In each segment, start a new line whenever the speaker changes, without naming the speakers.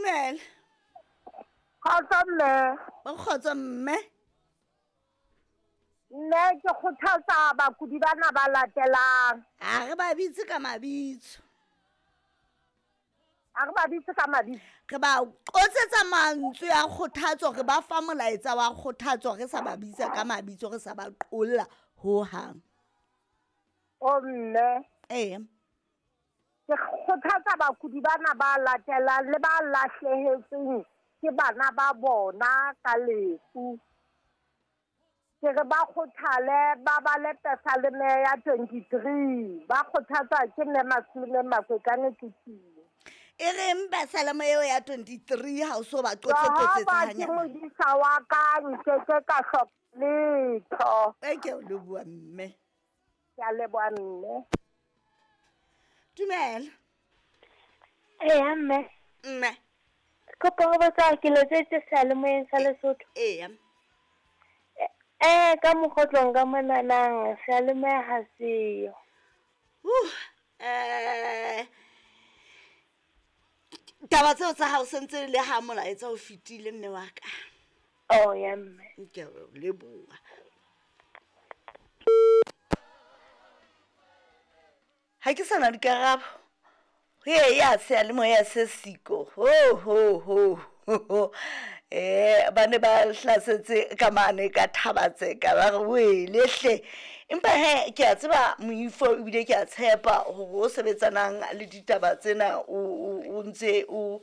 Dumela.
Kgotso mme.
Kgotso mme.
Mme ke kgothatsa bakudi bana ba latelang.
A re ba bitse ka mabitso.
A re ba bitse ka mabitso.
Re ba qotsetsa mantswe a kgothatso, re ba fa molaetsa wa kgothatso, re sa ba bitsa ka mabitso, re sa ba qolla ho hang.
O mme.
Ee.
Ke kgothatsa bakudi bana ba latelang le ba lahlehetsweng ke bana ba bona ka lefu. Ke re ba kgothale, ba bale Pesaleme ya 23. Ba kgothatsa ke mme Masilome Makwekane Tlotsing.
E reng Pesaleme eo ya 23 ha o so ba qotse-qotsetsa
Jehova ke
hanyane?
modisa wa ka, nkeke ka hloka letho.
E ke o leboha mme.
Ke a leboha mme.
Dumela.
Eya mme.
Mme.
Kopa ho botsa ke letsetse seyalemoyeng sa Lesotho.
Eya.
Ka mokgotlong ka monanang seyalemoya ha seyo.
Taba tseo tsa hao sentse le ha molaetsa o fetile mme wa ka.
Oh ya mme.
Ke a o leboha. Ha ke sana dikarabo. He ya seyalemoya se siko. Ho ho ho. Ba ne ba hlasetse ka mane ka Thabatseka ba re wele hle. Empa he ke a tseba moifo ebile ke a tshepa hore o sebetsanang le ditaba tsena o ntse o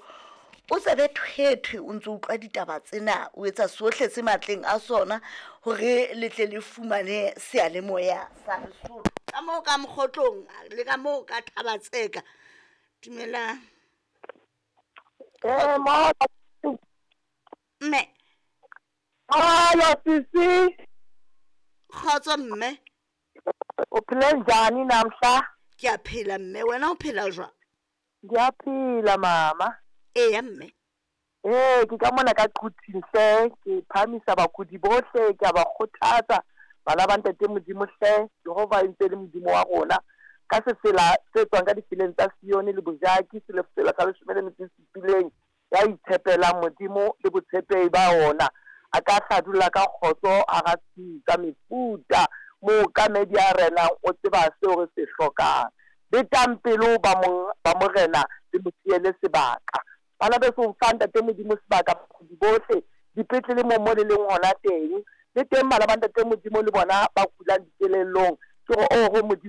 o tsebe thwethwe, o ntse utlwa ditaba tsena, o etsa sohle se matleng a sona hore le tle le fumane seyalemoya sa Lesotho. Ka moo ka mokgotlong le ka moo ka Thabatseka. Dumelang. Mme.
Hallo sisi.
Kgotso mme.
O phele njani namhla?
Ke a phela mme, wena o phela jwang?
Ngiyaphila mama.
Eya mme.
Ke ka mona ka Quthing hle, ke phahamisa bakudi bohle, ke a ba kgothatsa bana ba ntate Modimo hle, Jehova e ntse le Modimo wa rona. Ka sefela se tswang ka difeleng tsa Sione le Bojaki, sefela sa 17, ya itshepelang Modimo le botshepehi ba ona. A ka hladulla ka kgotso hara tsa mefuta, mookamedi a renang o tseba seo re se hlokang. Betang pelo ba morena le mo siele sebaka. Bana beso, fa ntate Modimo sebaka bakudi bohle, dipetlele mo le leng hona teng. Le teng bana ba ntate Modimo le bona ba kulang dikelellong. Ke hore oho Modimo.